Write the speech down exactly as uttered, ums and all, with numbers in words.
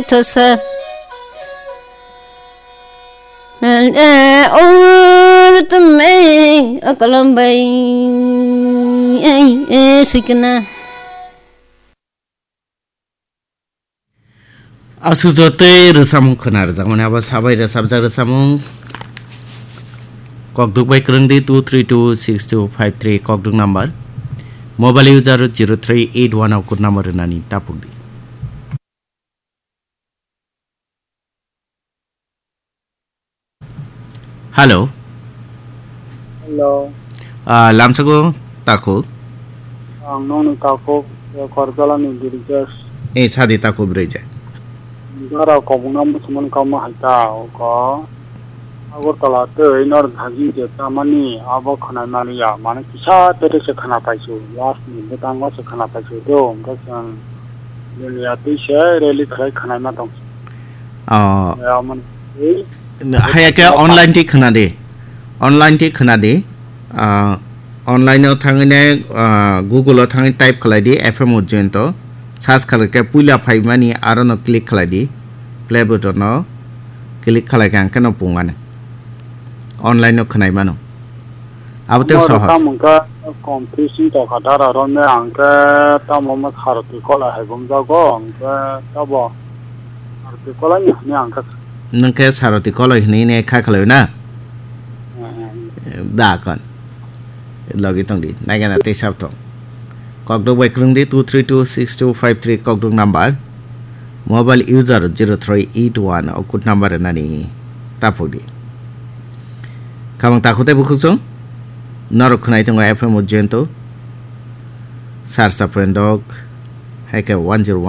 Thosa. Ur tum ei akalam bai ei sikna. Aswk jotoi rwchapmung khwna rwjakmani abo sabai rwchapjak rwchapmung. Kokduk bai kwrwngdi two three two six two five three kokduk number. Mobile user zero three eight one o code number rwnani tapukdi. Hello. Hello. Ah, lamsago takhuk. Ang nokni takhuk, eh, Korjalani Birjesh. Eh, sadi takhuk Birjesh. Dara kobongna muchungmani kamo hai ta, oko Agartala tei North Bhagi je tamani abo khwnai maliya, mane kisa tete se khwna paisu, last ni bwtango se khwna paisu do, hwnkhe chwng Dunia twi se rally khlai khwnaima tong. Oh. Ya, man, eh, Haya ke online ti khwna di. Online ti khwna di. Ah, online o thangwi ne, ah, Google o thangwi type khlai di F M Ujjayanto. Search khlai khe puila phaimani aro no click khlai di. Play button o click khlai khe ang khe no pungmani. Online o khwnai mano. Abo tei sohos. Tamo khe confusing tongkha dara romne ang khe tamo ma Saroti Kolai hai bumjago, ang khe tabo Saroti Kolai ni hwnwi ang khe. Nwng khe Saroti Kolai hwnwi ne kha khlai na? Eh, eh. Da kon. Logi tong di. Naigana tei sab tong. Kokdok bai kwrwng di two three two six two five three kokdok number. Mobile user zero three eight one o code number rwnani tapuk di. Khamang takhuk tei bukhuk chwng norok khwnai tongo F M Ujjayanto, Sarsa Phendok, hai khe one zero one